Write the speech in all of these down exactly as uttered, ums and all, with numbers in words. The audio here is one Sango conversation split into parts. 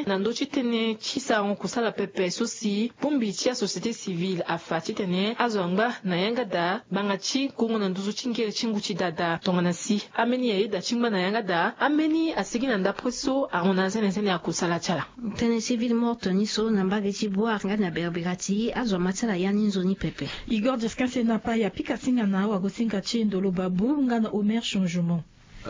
Na ndö ti tënë ti sarango kusala pepe so si bongbi ti asociété civile afa titene azo angba na yanga daa ngbanga ti gongo na nduzu ti ngere ti ngu ti daa daa. Tongana si ambeni ayeda ti ngba na yanga daa, ambeni asigi na ndapre so aronda zenezene akusala ti ala. Tënë ti ville morte ni so na mbage ti Bouar nga na berbera ti azo ama ti ala ya ni nzoni pepe. Igor Jesquin Senapa ya pika singa na awagosinga ti Ndolo Babou nga na Omer Changement.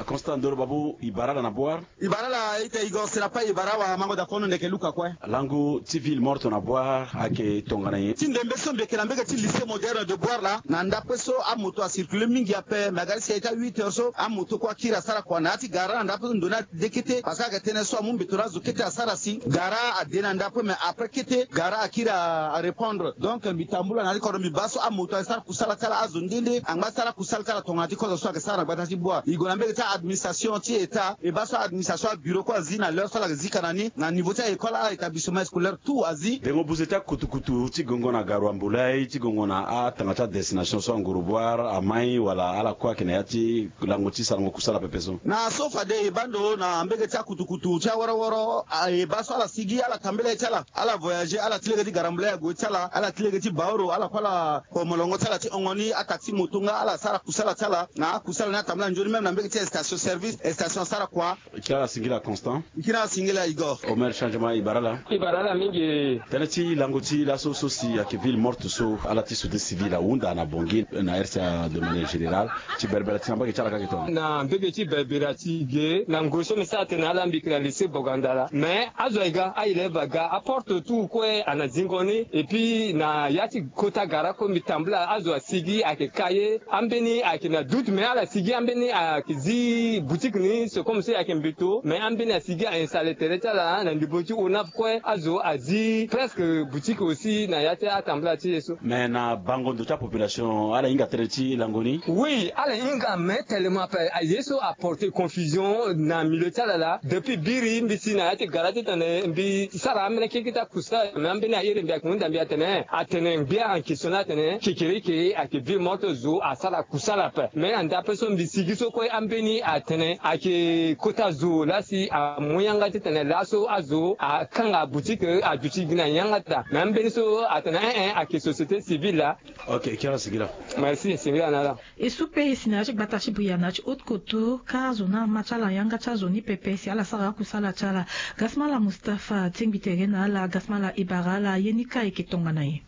Constant Ndolo Babou, i bara ala na Bouar? I bara ala ita Igor Senapa, i bara awamango daa kono ndeke luka kue. Lango ti ville morte na Bouar ayeke tongana nyen? Ti ndembe so mbi yeke na mbege ti lycée moderne de Bouar laa, na ndapre so amoto acircule mingi ape, me aga ti si aita huit heures so amoto kue akiri asara kua na ya ti gara na ndapre so ndo ni ade kete, parce que ayeke tënë so amu mbeto na azo kete asara si gara ade na ndapre, mais après kete gara akiri arépondre. Donc mbi tambula na ya ti kodro mbi baa so amoto asara kusala ti ala, azo nde nde angba ti sara kusala ti ala tongana ti kozo so ayeke sara na gbata ti Bouar. E gue na mbege ti administration ti état, e baa so administration abureau kue azi na l'heure so ala yeke zika na ni, na niveau ti a-école, a-établissement scolaire, tout azi. Dengo buze ti akutukutu ti gongo na Garoua Mboulay, ti gongo na atanga ti adestination so anguru Bouar, amai wala ala kue ayeke na ya ti lango ti sarango kusala pepe so? Na so fade e baa ndo na mbege ti akutukutu ti aworoworo, e baa so ala sigi, ala tambela ye ti ala, ala voyager, ala ti lege ti Garoua Mboulay ague ti ala, ala ti lege ti Baoro, ala kue ala ko molongo ti ala ti hongo ni ataxi moto nga ala sara kusala ti ala. Na akusala ni atambula nzoni même na mbege ti station service, station asara kua. Kiri ala singila Constant. Kiri ala singila Igor. Omer Changement, i bara ala? I bara ala mingi. Tënë ti lango ti laso so si ayeke ville morte so, ala ti société civile ahunda na Bangui na R C A de manière générale, ti berbera ti na mbage ti ala ka ayeke tongana? Na mbage ti berbera ti ge na ngoi so mbi sara tene ala mbi yeke na lycée Bogandala, mais azo aye ga, a-élève aga, aporte tout kue ana zingo ni. Et puis na ya ti kota gara kue mbi tambula azo asigi ayeke ka ye. Ambeni ayeke na doute, mais ala sigi, ambeni ayeke zi boutique ni, c'est comme si ayeke mbeto, mais ambeni asigi a-installer tere ti ala na ndembo ti ONAF kue. Azo azi presque boutique aussi na ya ti atambula ti ye so. Mais na bango ndo ti apopulation, ala hinga tënë ti lango ni? Oui, ala hinga, mais tellement ape aye so aporter confusion na milieu ti ala laa. Depuis biri mbi si na ya ti gara titene mbi sara ambeni keke ti akusala, mais ambeni airi mbi ayeke hunda mbi atene, atene gbia en question la atene kekereke ayeke ville morte, zo asara kusala ape. Mais na ndapre so mbi sigi so kue ambeni atene ayeke kota zo laa si amu yanga titene laso azo akanga boutique aduti gi na yanga daa. Mais ambeni so atene eh eh ayeke société civile laa. Ok, kiri ala singila. Merci, singila na ala. E so pe e si na ya ti gbata ti Bouar na ya ti Haute-Kotto, ka azo na ama ti ala yanga ti azo ni pepe si ala sara akusala ti ala. Gasmala Mustapha tingbi tere na ala. Gasmala, e bara ala, ye ni ka e yeke tongana nyen?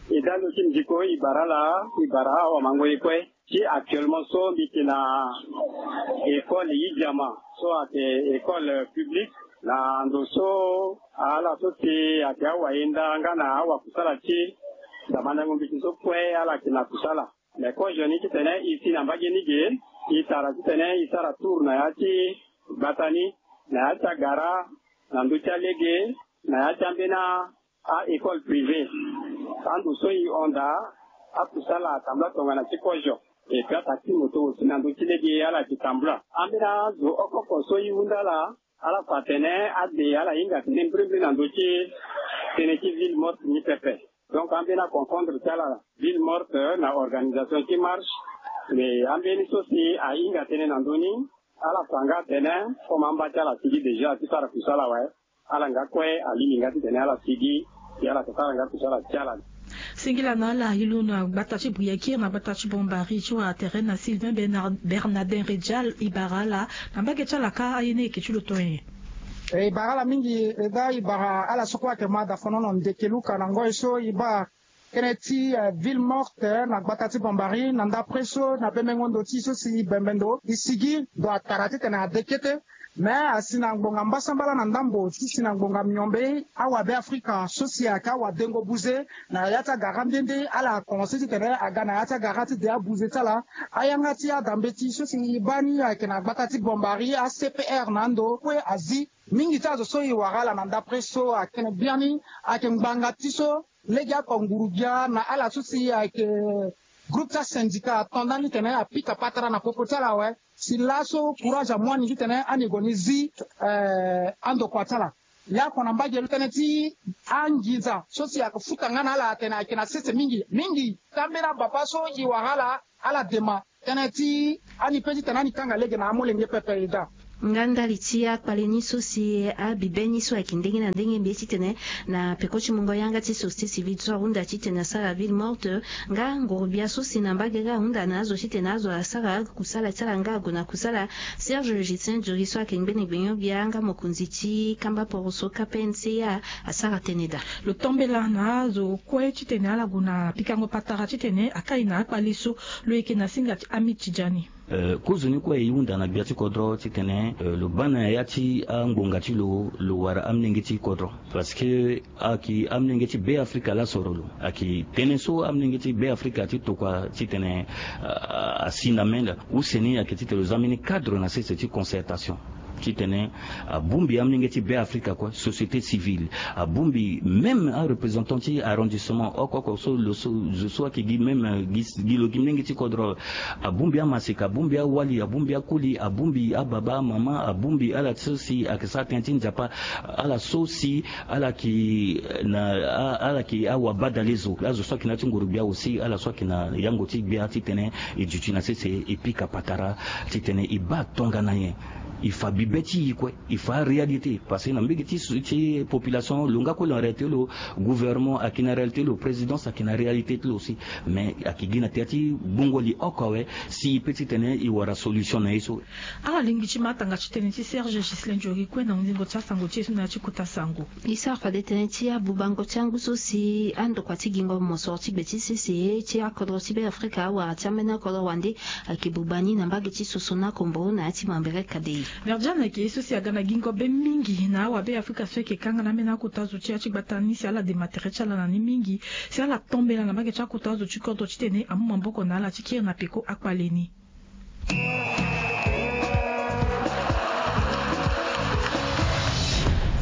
E dä ndo ti mbi ko, e bara ala, e bara awamango ye kue. Ti actuellement so mbi yeke na école Idiama so ayeke école publique. Na ndo so ala so si ayeke awayenda nga na awakusala ti damandango mbeti so kue ala yeke na kusala. Mais kozo ni titene e si na mbage ni ge, e tara titene e sara tour na ya ti gbata ni, na ya ti agara, na ndö ti alege, na ya ti ambeni a-école privée. Ando so e hon daa, akusala atambula tongana ti kozo. Et puis ataxi moto aussi na ndö ti lege ala yeke tambula. Ambeni azo oko oko so e hunda ala, ala fa atene ade ala hinga tënë mbirimbiri na ndö ti tënë ti ville morte ni pepe. Donc ambeni aconfondre ti ala ville morte na organisation ti marche. Mais ambeni so si ahinga tënë na ndö ni, ala fa nga atene comme amba ti ala asigi déjà ti sara kusala awe, ala nga kue alingbi nga titene ala sigi, si ala yeke sara nga kusala ti ala. Singila na ala, e londo na gbata ti Briakir na gbata ti Bombari ti wara tere na Sylvain Bernard-, Bernardin Redjal, e bara ala, na mbage ti ala ka aye ni e yeke ti lo tonga nyen? E bara ala mingi, e dä e bara ala so kue ayeke ma dafono na ndeke luka na ngoi so e baa tënë ti, eh, ville morte, eh, na gbata ti Bombari, na ndapre so na bembengo ndo ti so si e bembe ndo, e sigi ndo atara titene ade kete. Mais asi na ngbonga mbasambala na ndambo ti si na ngbonga miombe, awabe Afrika so si ayeke awadengo buze na ya ti agara nde nde, ala commencé titene aga na ya ti agara ti de abuze ti ala. Ayanga ti ada mbeti so si e baa ni ayeke na gbata ti Bombari, a C P R na ando kue azi. Mingi ti azo so e wara ala na ndapre so ayeke tene biani, ayeke ngbanga ti so lege oko nguru-gbia na ala so si ayeke groupe ti asyndicat ato ndani titene apika patara na popo ti ala awe. Si laso courage amu ani titene ani gue ni zi, eh, andokua ti ala. Ye oko na mbage lo tënë ti anginza so si ayeke futa nga na ala atene ayeke na sese mingi. Mingi ti ambeni ababa so e wara ala, ala dema tënë ti ani pe titene ani kanga lege na amolenge pepe e dä. Nga ndali ti akpale ni so si abibe ni so ayeke ndenge na ndenge mbi ye titene na peko ti mungo yanga ti société civile so ahunda titene asara ville morte. Nga ngorobia so si na mbage ga ahunda na azo titene azo asara kusala ti ala nga ague na kusala. Serge Justin Duri so ayeke ngbene gbenyo-gbia nga mokonzi ti kamba poroso K P N C A asara tënë daa. Lo tombela na azo kue titene ala gue na pikango patara titene akai na akpale so. Lo yeke na singa ti Amid Tidjani. Kozo ni kue e hunda na gbia ti kodro titene lo baa na ya ti angbonga ti lo, lo wara amolenge ti kodro. Parce que ayeke amolenge ti Be Afrika laa soro lo. Ayeke tënë so amolenge ti Be Afrika ti tokua titene asi na mê laa. Use ni ayeke titene lo za mbeni cadre na sese ti concertation. Titene abongbi amolenge ti Be Afrika kue, société civile, abongbi même areprésentant ti arrondissement oko oko so lo so zo so ayeke gi même gi lo gi molenge ti kodro. Abongbi amaseka, abongbi awali, abongbi akoli, abongbi ababa amama, abongbi ala so si ayeke sara tënë ti nzapa, ala so si ala yeke na ala yeke awabadale zo, azo so ayeke na ya ti ngorogbia aussi, ala so ayeke na yango ti gbia titene e duti na sese e pika patara titene e baa tongana nyen. E fa bibe ti e kue. Il faut aréalité parce que na mbege ti ti population lo nga kue lo na réalité lo, gouvernement ayeke na réalité lo, présidence ayeke na réalité ti lo aussi. Mais ayeke gi na tere ti gbongo li oko awe si e pe titene e wara solution na ye so. Ala lingbi ti ma atanga ti tënë ti Serge Ghislain Diory kue na hundingo ti asango ti e so na ya ti kota sango. E sara fade tënë ti abubango ti angu so si andokua ti gingo mosoro ti gbe ti sese ti akodro ti Be Afrika awara ti ambeni akodro wande. Ayeke buba ni na mbage ti soso na kombo na ya ti mambere kadei. Merdiane ayeke ye so si aga na gingo be mingi na awabe Afrika so ayeke kanga na ambeni akota zo ti ya ti gbata ni si ala dema tere ti ala na ni mingi. Si ala tombela na mbage ti akota zo ti kodro titene amu maboko na ala ti kiri na peko akpale ni.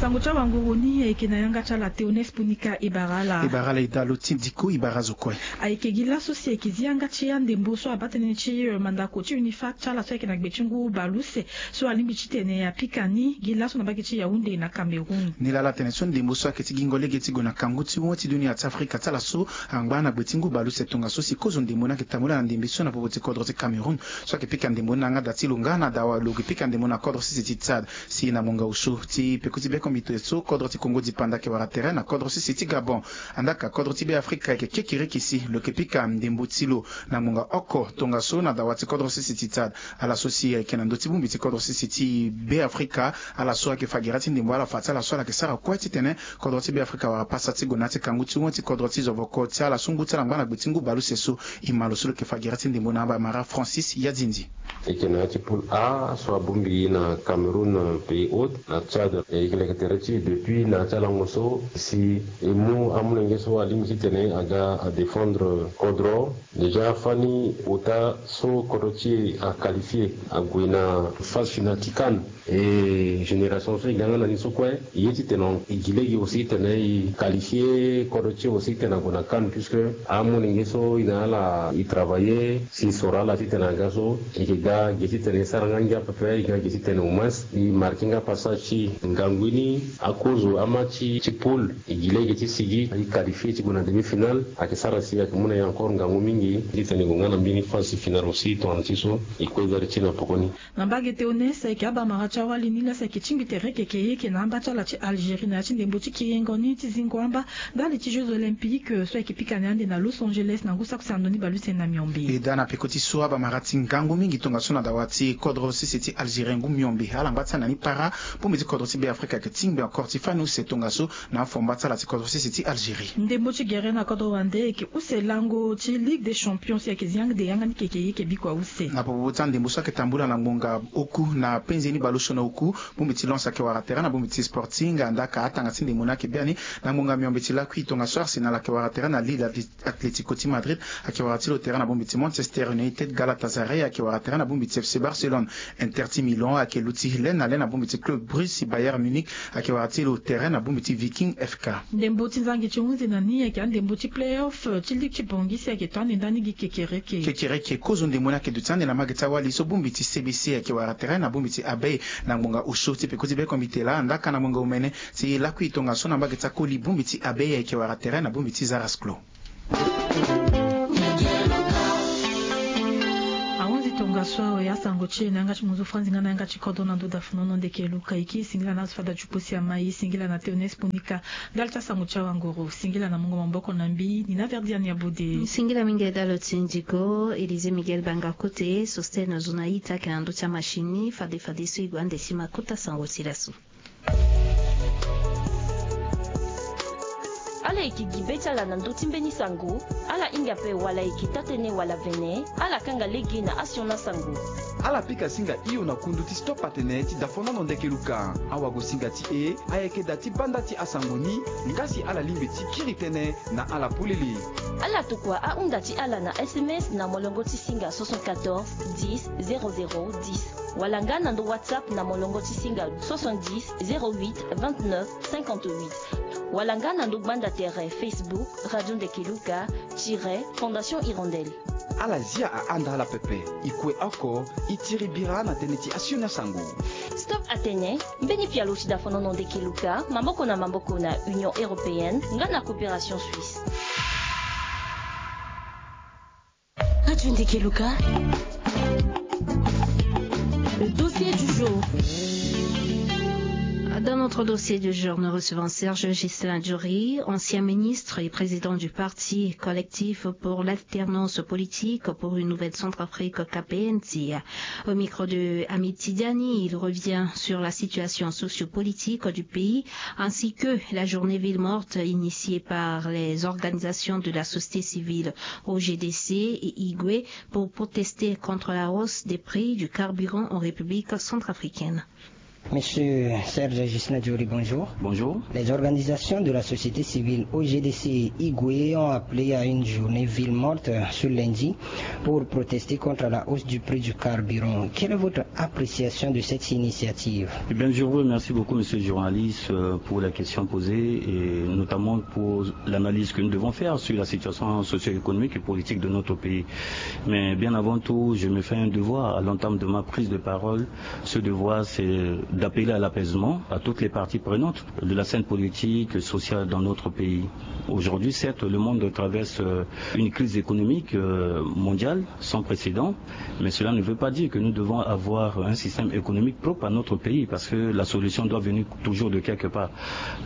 Sango ti awanguru ni ayeke na yanga ti ala Théoneste Punika. E bara ala. E bara ala e dalo ti ndiko e bara azo kue. Ayeke gi laso si ayeke zi yanga ti andembo so abaa tënë ti mandako ti UNIFAC ti ala so ayeke na gbe ti ngu bale use so alingbi titene apika ni gi laso na mbage ti Yaoundé na Cameroun. Ni laa ala tene so ndembo so ayeke ti gingo lege ti gue na kangu ti wen ti dunia ti Afrika ti ala so angba na gbe ti ngu bale use tongaso si kozo ndembo ni ayeke tambula na ndembe so na popo ti kodro ti Cameroun. So ayeke pika ndembo ni na yanga da ti lo nga na dawa lo yeke pika ndembo na kodro sese ti Tchad. Si na monga oso ti peko ti bekombito so kodro ti Congo dipanda ayeke wara tere na kodro sese ti Gabon. Andaa ka kodro ti Be Afrika ayeke kekereke si lo yeke pika ndembo ti lo na ngbonga oko tongaso na dawa ti kodro sese ti Tchad. Ala so si ayeke na ndö ti bongbi ti kodro sese ti Be Afrika, ala so ayeke fa gere ti ndembo ala fa ti ala so ala yeke sara kue titene kodro ti Be Afrika wara pasa ti gue na ya ti kangu ti wen ti kodro ti zovoko ti ala so ngu ti ala angba na gbe ti ngu bale use so. E ma lo so lo yeke fa gere ti ndembo na abamara Francis Yadindi. E yeke na ya ti poule A so abongbi na Cameroun, Pays Hôte na Tchad. E yeke leke tere ti e depuis na ya ti alango so si e mu amolenge so alingbi titene aga adéfendre kodro. Déjà fani ota so kodro ti e aqualifie ague na phase finale ti CAN. E génération so e ga nga na ni so kue e ye titene e gi lege aussi titene e qualifie kodro ti e aussi titene ague na CAN puisque amolenge so e na ala e travailler si e soro ala titene aga so e yeke ga ge titene e sara nga ngia pepe e ga ge titene au moins e marquer nga passage ti e. Ngangu ni akozo amatch ti poule e gi lege ti sigi e qualifie ti gue na demi-finale ayeke sara si ayeke mu na e encore ngangu mingi titene e gue nga na mbeni phase ti finale aussi tongana ti so e kue vere ti e na poko ni. Na mbage Théoneste ayeke abamara ti awali ni laa si ayeke tingbi tere keke ye yeke na amba ti ala ti Algérie na ya ti ndembo ti kiringo ni ti zingo amba ndali ti Jeux Olympiques so ayeke pika ni ande na Los Angeles na ngu saki sando ni bale use na miombe. E daa na peko ti so abamara ti ngangu mingi tongaso na dawa ti kodro sese ti Algérie ngu miombe ala ngba ti ala na ni para. Bongbi ti kodro ti Be Afrika ayeke tingbi encore ti fani use tongaso na afomba ti ala ti kodro sese ti Algérie. Ndembo ti gere na kodro wande ayeke use lango ti Ligue des Champions si ayeke zi yanga de yanga ni keke ye yeke bikua use. Na popo ti andembo so ayeke tambula na ngbonga oku na penze ni baleuse na oku, bongbi ti Lens ayeke wara tere na bongbi ti Sporting. Andaa ka atanga ti ndembo ni ayeke biani na ngbonga miombe ti lakui tongaso Arsenal ayeke wara tere na Lille. Atlético ti Madrid ayeke wara ti lo tere na bongbi ti Manchester United. Galatasaray ayeke wara tere na bongbi ti F C Barcelone. Inter ti Milan ayeke luti le na le na bongbi ti Club Bruges. Bayern Munich ayeke wara ti lo tere na bongbi ti Viking F K. Ndembo ti nzangi ti hunzi na ni ayeke andembo ti play-off ti ligue ti Bangui si ayeke to ande ndani gi kekereke. Kekereke kozo ndembo ni ayeke duti ande na mbage ti awali so bongbi ti C B C ayeke wara tere na bongbi ti Abei na ngbonga osio ti peko ti bekombite laa. Andaa ka na ngbonga omene ti lakui tongaso na mbage ti akoli bongbi ti Abei ayeke wara tere na bongbi ti Zarasclo. Ahunzi tonga. Nga so awe asango ti e na yanga ti munzu Franzi nga na yanga ti kodro na ndo dafonono ndeke Luka. Iki singila na azo fada ti posi ama, i singila na Théoneste Punika. Ndali ti asango ti awanguru, singila na mungo maboko na mbi ni na Verdiane ya Bode. Singila mingi dalo ti ndiko Élisée Miguel Banga Kote, Sostène Zonaïta ke na ndo ti amachine. Fade fade so i gue ande si ma kota sango ti laso. Ala yeke gi be ti ala na ndö ti mbeni sango. Ala hinga ape wala yeke taa-tënë wala vene, ala kanga lege na asioni asango. Ala pika singa hio na kundu ti Stop Atene ti dafonono ndeke Luka. Awagosinga ti e ayeke da ti banda ti asango ni. Nga si ala lingbi ti kiri tënë na ala polele. Ala tokua ahunda ti ala na S M S na molongo ti singa soixante-quatorze dix zéro zéro dix, wala nga na ndo WhatsApp na molongo ti singa soixante-dix zéro huit vingt-neuf cinquante-huit, wala nga na ndo gbanda tere Facebook Radio Ndeke Luka tiret Fondation Hirondelle. Ala zia ahanda ala pepe. I kue oko, i tiri bira na tënë ti asioni asango. Stop Atene, mbeni pialo ti dafonono ndeke Luka, maboko na maboko na Union Européenne nga na Coopération Suisse. Radio Ndeke Luka. Le dossier du jour. Dans notre dossier du jour, nous recevons Serge Ghislain Djouri, ancien ministre et président du parti Collectif pour l'alternance politique pour une nouvelle Centrafrique, K P N T. Au micro de Hamid Tidiani, il revient sur la situation sociopolitique du pays ainsi que la journée ville morte initiée par les organisations de la société civile O G D C et Igwe pour protester contre la hausse des prix du carburant en République centrafricaine. Monsieur Serge Ghislain Djouri, bonjour. Bonjour. Les organisations de la société civile O G D C et Igwe ont appelé à une journée ville morte ce lundi pour protester contre la hausse du prix du carburant. Quelle est votre appréciation de cette initiative ? Eh bien, je vous remercie beaucoup, monsieur le journaliste, euh, pour la question posée et notamment pour l'analyse que nous devons faire sur la situation socio-économique et politique de notre pays. Mais bien avant tout, je me fais un devoir à l'entame de ma prise de parole. Ce devoir, c'est d'appeler à l'apaisement à toutes les parties prenantes de la scène politique, sociale dans notre pays. Aujourd'hui, certes, le monde traverse, euh, une crise économique, euh, mondiale sans précédent, mais cela ne veut pas dire que nous devons avoir un système économique propre à notre pays, parce que la solution doit venir toujours de quelque part.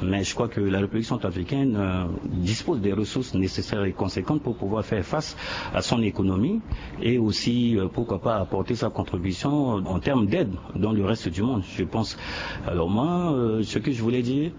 Mais je crois que la République centrafricaine, euh, dispose des ressources nécessaires et conséquentes pour pouvoir faire face à son économie et aussi, euh, pourquoi pas, apporter sa contribution en termes d'aide dans le reste du monde, je pense. Alors moi, euh, ce que je voulais dire,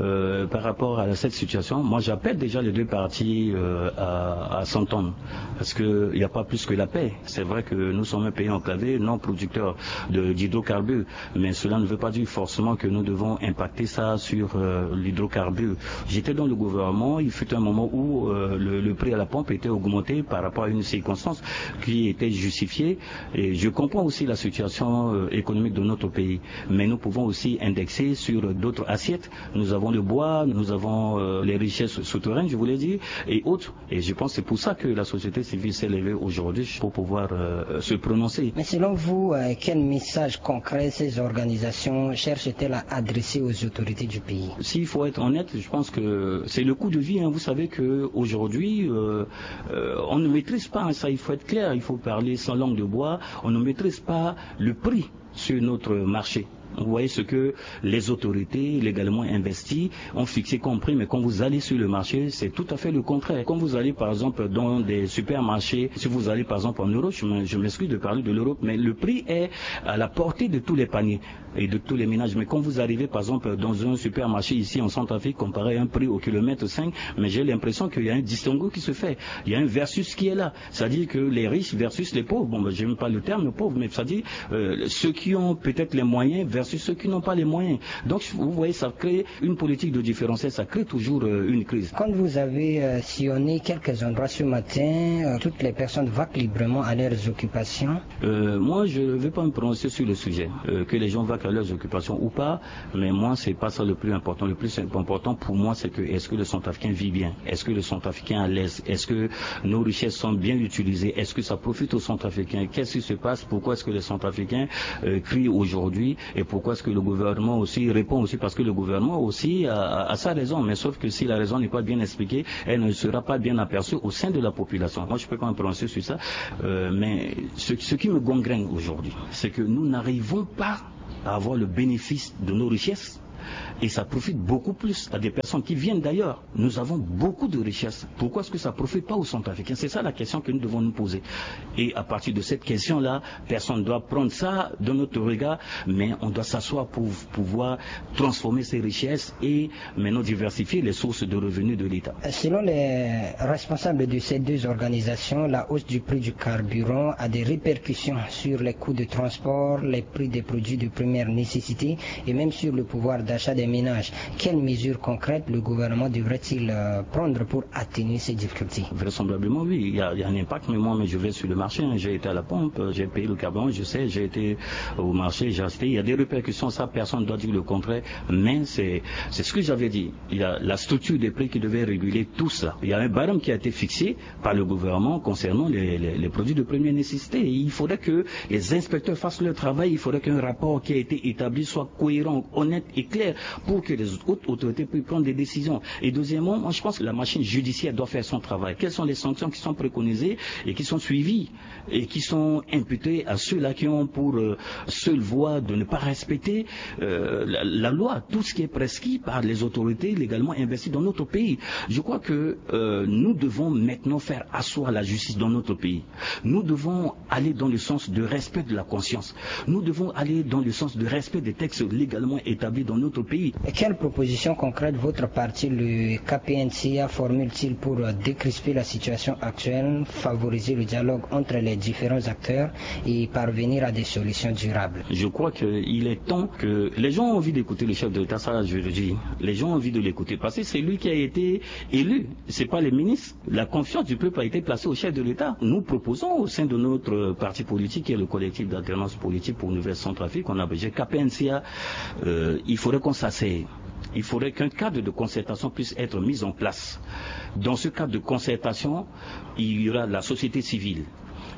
euh, par rapport à cette situation, moi, j'appelle déjà les deux parties, euh, à, à s'entendre, parce que il n'y a pas plus que la paix. C'est vrai que nous sommes un pays enclavé, non producteur de, d'hydrocarbures, mais cela ne veut pas dire forcément que nous devons impacter ça sur, euh, l'hydrocarbure. J'étais dans le gouvernement, il fut un moment où, euh, le, le prix à la pompe était augmenté par rapport à une circonstance qui était justifiée. Et je comprends aussi la situation, euh, économique de notre pays, mais nous pouvons aussi indexer sur d'autres assiettes. Nous avons le bois, nous avons, euh, les richesses souterraines, je voulais dire, et autres. Et je pense que c'est pour ça que la société civile s'est levée aujourd'hui pour pouvoir, euh, se prononcer. Mais selon vous, euh, quel message concret ces organisations cherchent-elles à adresser aux autorités du pays ? S'il faut être honnête, je pense que c'est le coût de vie, hein. Vous savez que aujourd'hui, euh, euh, on ne maîtrise pas, hein, ça, il faut être clair, il faut parler sans langue de bois, on ne maîtrise pas le prix sur notre marché. Vous voyez ce que les autorités légalement investies ont fixé comme prix, mais quand vous allez sur le marché, c'est tout à fait le contraire. Quand vous allez par exemple dans des supermarchés, si vous allez par exemple en Europe, je m-, je m'excuse de parler de l'Europe, mais le prix est à la portée de tous les paniers et de tous les ménages. Mais quand vous arrivez par exemple dans un supermarché ici en Centrafrique, comparé à un prix au kilomètre cinq, mais j'ai l'impression qu'il y a un distinguo qui se fait. Il y a un versus qui est là. C'est-à-dire que les riches versus les pauvres. Bon, ben, j'aime pas le terme pauvre, mais c'est-à-dire, euh, ceux qui ont peut-être les moyens versus ceux qui n'ont pas les moyens. Donc, vous voyez, ça crée une politique de différentiel, ça crée toujours, euh, une crise. Quand vous avez, euh, sillonné quelques endroits ce matin, euh, toutes les personnes vaquent librement à leurs occupations. Euh, moi, je ne vais pas me prononcer sur le sujet. Euh, que les gens vaquent à leurs occupations ou pas, mais moi, c'est pas ça le plus important. Le plus important pour moi, c'est que est-ce que le Centrafricain vit bien ? Est-ce que le Centrafricain est à l'aise ? Est-ce que nos richesses sont bien utilisées ? Est-ce que ça profite aux Centrafricains ? Qu'est-ce qui se passe ? Pourquoi est-ce que les Centrafricains, euh, crient aujourd'hui ? Et Pourquoi est-ce que le gouvernement aussi répond aussi? Parce que le gouvernement aussi a, a- a sa raison, mais sauf que si la raison n'est pas bien expliquée, elle ne sera pas bien aperçue au sein de la population. Moi, je peux pas me prononcer sur ça, euh, mais ce, ce qui me gangrène aujourd'hui, c'est que nous n'arrivons pas à avoir le bénéfice de nos richesses. Et ça profite beaucoup plus à des personnes qui viennent d'ailleurs. Nous avons beaucoup de richesses. Pourquoi est-ce que ça ne profite pas aux Centrafricains? C'est ça la question que nous devons nous poser. Et à partir de cette question-là, personne ne doit prendre ça dans notre regard, mais on doit s'asseoir pour pouvoir transformer ces richesses et maintenant diversifier les sources de revenus de l'État. Selon les responsables de ces deux organisations, la hausse du prix du carburant a des répercussions sur les coûts de transport, les prix des produits de première nécessité et même sur le pouvoir d'achat des ménages. Quelles mesures concrètes le gouvernement devrait-il euh, prendre pour atténuer ces difficultés? Vraisemblablement, oui, il y, a, il y a un impact, mais moi, mais je vais sur le marché, hein. J'ai été à la pompe, euh, j'ai payé le carburant, je sais, j'ai été au marché, j'ai acheté. Il y a des répercussions, ça, personne ne doit dire le contraire, mais c'est c'est ce que j'avais dit. Il y a la structure des prix qui devait réguler tout ça. Il y a un barème qui a été fixé par le gouvernement concernant les, les- les produits de première nécessité. Et il faudrait que les inspecteurs fassent leur travail. Il faudrait qu'un rapport qui a été établi soit cohérent, honnête et clair pour que les autres autorités puissent prendre des décisions. Et deuxièmement, moi, je pense que la machine judiciaire doit faire son travail. Quelles sont les sanctions qui sont préconisées et qui sont suivies et qui sont imputées à ceux-là qui ont pour euh, seule voie de ne pas respecter euh, la, la loi, tout ce qui est prescrit par les autorités légalement investies dans notre pays. Je crois que euh, nous devons maintenant faire asseoir la justice dans notre pays. Nous devons aller dans le sens de respect de la conscience. Nous devons aller dans le sens de respect des textes légalement établis dans notre pays. Et quelles propositions concrètes votre parti, le K P N C A, formule-t-il pour euh, décrisper la situation actuelle, favoriser le dialogue entre les différents acteurs et parvenir à des solutions durables? Je crois qu'il est temps que les gens ont envie d'écouter le chef de l'État, ça je le dis. Les gens ont envie de l'écouter parce que c'est lui qui a été élu, c'est pas les ministres. La confiance du peuple a été placée au chef de l'État. Nous proposons au sein de notre parti politique, qui est le collectif d'alternance politique pour une nouvelle Centrafrique, on a besoin K P N C A, euh, il faudrait qu'on s'asseye. Il faudrait qu'un cadre de concertation puisse être mis en place. Dans ce cadre de concertation, il y aura la société civile,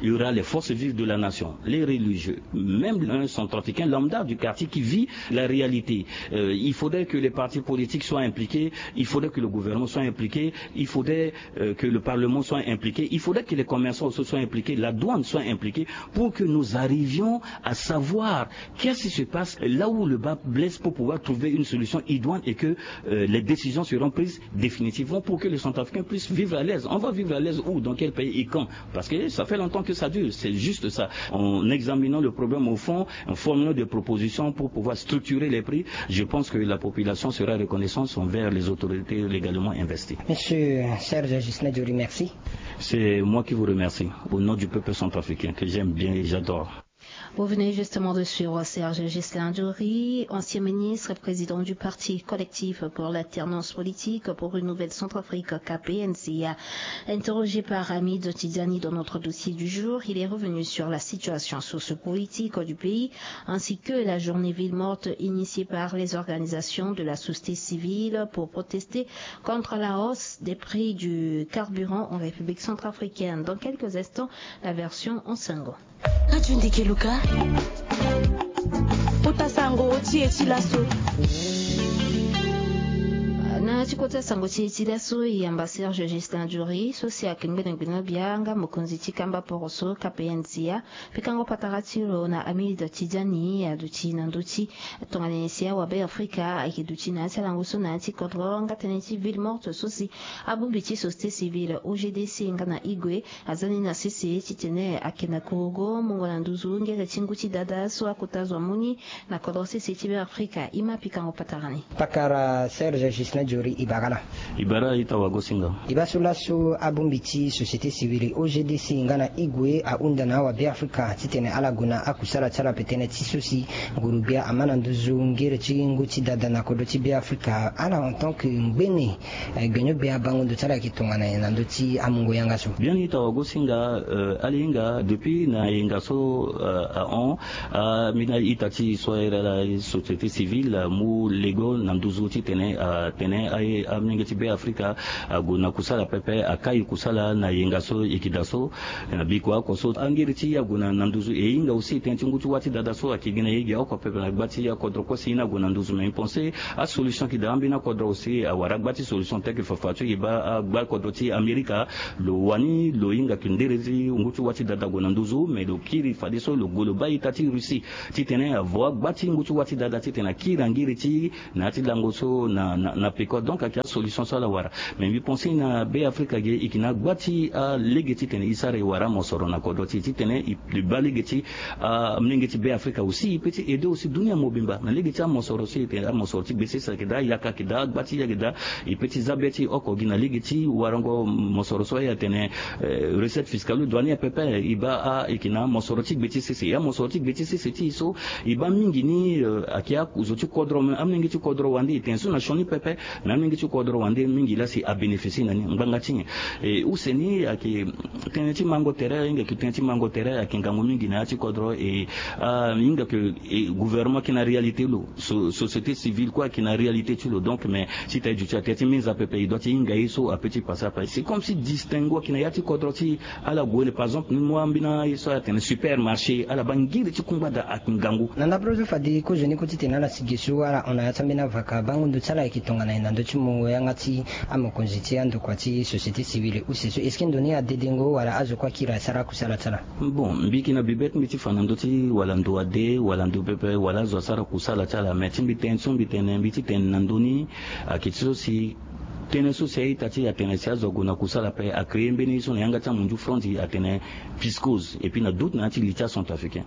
il y aura les forces vives de la nation, les religieux, même un centrafricain lambda du quartier qui vit la réalité. Euh, il faudrait que les partis politiques soient impliqués, il faudrait que le gouvernement soit impliqué, il faudrait euh, que le Parlement soit impliqué, il faudrait que les commerçants aussi soient impliqués, la douane soit impliquée, pour que nous arrivions à savoir qu'est-ce qui se passe là où le bât blesse pour pouvoir trouver une solution idoine et que euh, les décisions seront prises définitivement pour que les Centrafricains puissent vivre à l'aise. On va vivre à l'aise où, dans quel pays et quand? Parce que ça fait longtemps que ça dure, c'est juste ça. En examinant le problème au fond, en formulant des propositions pour pouvoir structurer les prix, je pense que la population sera reconnaissante envers les autorités légalement investies. Monsieur Serge Ghislain Diori, merci. C'est moi qui vous remercie, au nom du peuple centrafricain que j'aime bien et j'adore. Vous venez justement de suivre Serge Ghislain Diori, ancien ministre et président du parti collectif pour l'alternance politique pour une nouvelle Centrafrique, K P N C A. Interrogé par Hamid Tidjani dans notre dossier du jour, il est revenu sur la situation sociopolitique du pays ainsi que la journée ville morte initiée par les organisations de la société civile pour protester contre la hausse des prix du carburant en République centrafricaine. Dans quelques instants, la version en sango. Katundi Keluka. Kota sango ti e ti laso. Na ti kota sango ti e ti laso, e yamba Serge Ghislain Diori so si ayeke ngbene gbene bia nga mokonzi ti kamba poroso K P N C A. Pikango patara ti lo na Hamid Tidjani aduti na ndö ti tongana nyen si awabe Afrika ayeke duti na ya ti alango so na ya ti kodro nga tënë ti ville morte so si abongbi ti société civile O G D C nga na e gue aza ni na sese titene ayeke na korogo mungo na nduzu ngere ti ngu ti dada so akota zo amu ni na kodro sese ti Beafrika. E ma pikango patara ni. Pakara Serge Ghislain Diori, e bara laa. E bara ita wagosinga. E baa so laso abongbi ti société civile O G D C nga na e gue ahunda na awabe Afrika titene ala gue na akusala ti ala ape tënë ti so si nguru-gbia ama na nduzu ngere ti ngu ti dada na kodro ti Beafrika, ala en tant que ngbene eh, gbenyo-gbia bango ndo ti ala ayeke tongana nyen na ndö ti amungo yanga so? Biani ita wagosinga, eh, ala hinga depuis na yenga so, eh, ahon, ah, ambeni ita ti e so ahiri ala société civile, eh, amu lego na nduzu titene, eh, atene Amolenge ti Be Afrika ague na kusala pepe, akai kusala na yenga so e yeke daa so. Na biko oko so angiri ti e ague na nduzu, e hinga aussi tënë ti ngu ti wâ ti dada so ayeke gi na ye gi oko pepe na gba ti akodro kue si e ni ague na nduzu. Mais e pense asolution ayeke daa ambeni akodro aussi, awara gba ti solution tel que fafa so e baa agba kodro ti Amerika. Lo wani lo hinga ke ndere ti ngu ti wâ ti dada ague na nduzu, mais lo kiri fadeso lo gue lo baa ita ti Russie titene avo agba ti ngu ti wâ ti dada titene akiri angiri ti na ya ti lango so na, na, na peko. Donc ayeke asolution so ala wara. Mais mbi pense na Be Afrika ge e yeke na gba ti alege titene e sara e wara amosoro na kodro ti e titene e, e baa lege ti amolenge ti Be Afrika aussi e peut ti aider aussi dunia mobimba na lege ti amosoro so e tene amosoro ti gbe sese ayeke daa, yaka ayeke daa, gba ti e ayeke daa. E peut ti za be ti e oko gi na lege ti warango mosoro so aye atene recette fiscale douanière pepe. E baa a e yeke na amosoro ti gbe ti sese, amosoro ti gbe ti sese ti e so e baa mingi ni, eh, ayeke azo ti kodro, me amolenge ti kodro wande e tene so na sioni pepe. Me amolenge ti kodro wande mingi laa si abénéficier na ni ngbanga ti nyen? E use ni ayeke tënë ti mango tere, ahinga yeke tënë ti mango tere ayeke ngangu mingi na ya ti kodro. E ahinga yeke gouvernement ayeke na réalité lo, so société civile kue ayeke na réalité ti lo. Donc mais si ta e duti atene ti minza pepe e doit ti hinga ye so ape ti pase ape. C'est comme si distinguo ayeke na ya ti kodro ti ala gue. Par exemple ni mu ambeni aye so atene supermarché, ala baa ngiri ti kungba daa ayeke ngangu. Na ndapre so fade kozoni kue titene ala si ge so ala hon na ya ti ambeni avaka bango ndo ti ala ayeke tongana nyen na ndö ti mu yanga ti amokonzi ti andokua ti société civile use so? Est-ce que ndo ni adedengo wala azo kue akiri asara akusala ti ala? Bon, mbi yeke na bibe ti mbi ti fa na ndö ti wala ndo ade wala ndo pepe wala azo asara kusala ti ala. Mais ti mbi tene so mbi tene mbi ti tene na ndö ni ayeke ti so si tënë so si a-ita ti e atene si azo ague na kusala ape, a créer mbeni ye so na yanga ti amunzu franzi atene piscose. Et puis na doute na ya ti li ti acentrafricain,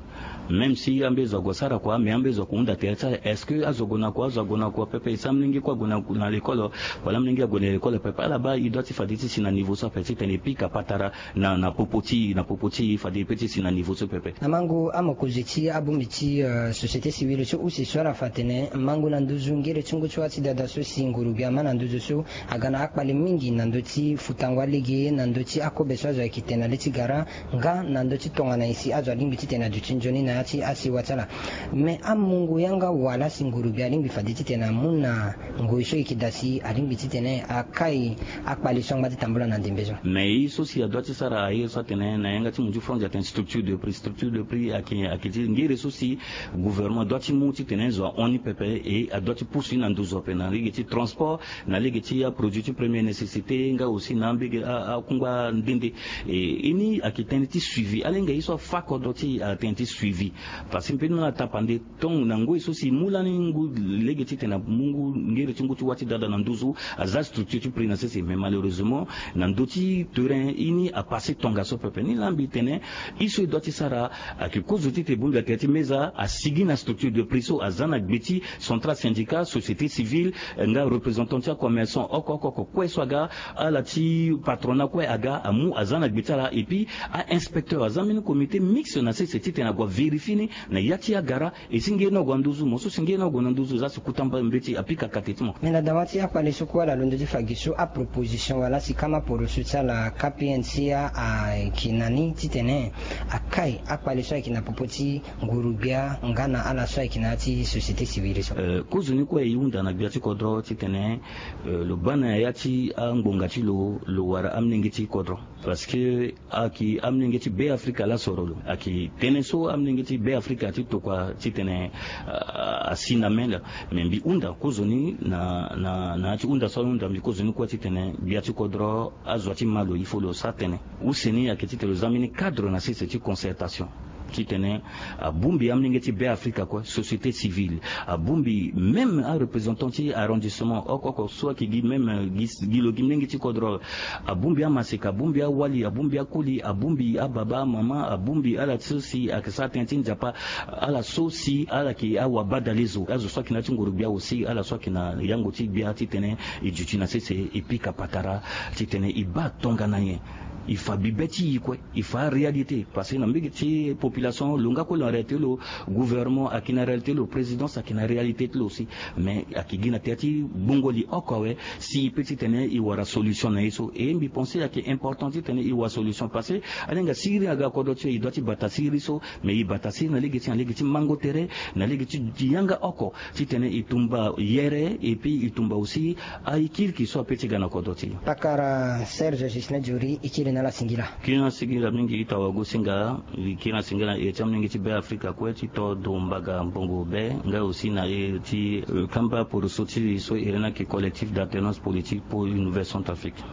même si ambe zo ague asara kua mais ambe zo ague hunda tere ti ala. Est-ce que azo ague na kua, azo ague na kua pepe? E si amolenge kue ague na, na lekole wala amolenge ague na lekole pepe? Ala baa e doit ti fade ti si na niveau so ape titene e pika patara na, na popo ti e, na popo ti e fade e peut ti si na niveau so pepe. Na mango amokonzi ti abongbi ti, eh, société civile so use so ala fa atene mango na nduzu ngere ti ngu ti wâ ti dada so si nguru gbia ama na nduzu so aga na akpale mingi na ndö ti futango alege na ndö ti akobe so azo ayeke tene na le ti gara nga na ndö ti tongana nyen si azo alingbi titene aduti nzoni na ya ti asewa ti ala. Mais amungo yanga wala si nguru gbia alingbi fade titene amu na ngoi so e yeke daa si alingbi titene akai akpale so angba ti tambula na ndembe so? Mais ye so si adoit ti sara aye so atene na yanga ti munzu franzi atene structure de prix. Structure de prix ayeke, ayeke ti ngere so si gouvernement adoit ti mu titene zo ahon ni pepe. E adoit ti pusu ni na nduzu ape na lege ti transport, na lege ti aproduit ti première nécessité nga aussi na ambege a, akungba nde nde. E, e ni ayeke tënë ti suivi. Ala hinga ye so afa kodro ti e atene ti suivi. Parce que mbeni ala tapande tongo na ngoi so si e mu lani ngu lege titene amu ngu ngere ti ngu ti wâ ti dada na nduzu, aza structure ti prix na sese. Mais malheureusement na ndö ti terrain e ni apase tongaso pepe. Ni laa mbi tene ye so e doit ti sara ayeke kozo ti tene bongbi atene ti meza asigi na structure de prix so aza na gbe ti central syndicat, société civile, eh, nga représentant ti acommerçant oko oko oko kue so aga, ala ti patronat kue aga amu aza na gbe ti ala. Et puis a-inspecteur aza mbeni comité mixte na sese titene ague avérifier ni na ya ti agara. E si nge ni ague na nduzu, mo so si nge ni ague na nduzu, e za si kuta mbeti apika kate ti mo. Mais na dawa ti akpale so kue ala londo ti fa gi so aproposition wala si kama poroso ti ala K P N C A ayeke na ni titene akai akpale so ayeke na popo ti nguru gbia nga na ala so ayeke na ya ti société civile so? Eh, kozoni kue e hunda na gbia ti kodro titene, eh, lo baa na ya ti angbonga ti lo, lo wara amolenge ti kodro. Parce que ayeke amolenge ti Be Afrika laa soro lo. Ayeke tënë so amolenge ti Be Afrika ti tokua titene, ah, asi na mê laa. Mais mbi hunda kozoni na, na, na ya ti hunda so ahunda mbi kozoni kue titene gbia ti kodro azo ti ma lo, il faut lo sara tënë. Use ni ayeke titene lo za mbeni cadre na sese ti concertation. Titene abongbi amolenge ti Be Afrika kue, société civile, abongbi même areprésentant ti arrondissement oko oko so ayeke gi même, eh, gi, gi lo gi molenge ti kodro. Abongbi amaseka, abongbi awali, abongbi akoli, abongbi ababa, amama, abongbi ala so si ayeke sara tënë ti nzapa, ala so si ala yeke awabadalezo, azo so ayeke na ya ti nguru gbia aussi, ala so ayeke na yango ti gbia titene e duti na sese e pika patara titene e baa tongana nyen. Il fa bibe ti i kue, il fa réalité parce que na mbege ti population lo nga kue lo na réalité lo, gouvernement ayeke na réalité lo, présidence ayeke na réalité ti lo aussi. Mais ayeke gi na tere ti bongo li oko awe, si i pe titene i wara solution na ye so. E mbi pense ayeke important titene i wara solution parce que alinga siriri aga kodro ti e, i doit ti bata siriri so. Mais i bata siriri na lege ti na lege ti mango tere, na lege ti yanga oko titene i tumba yere et puis i tumba aussi aye kiriki so ape ti ga na kodro ti e. Pakara Serge Justin Diori, i kiri na ala singila. Kiri na singila mingi ita wagosinga. I kiri na singila na ere ti amolenge ti Be Afrika kue ti to do mbaga mbongo be nga aussi na ere ti kamba poroso ti li so ere ni ayeke Collectif d'alternance politique pour une nouvelle Centrafrique.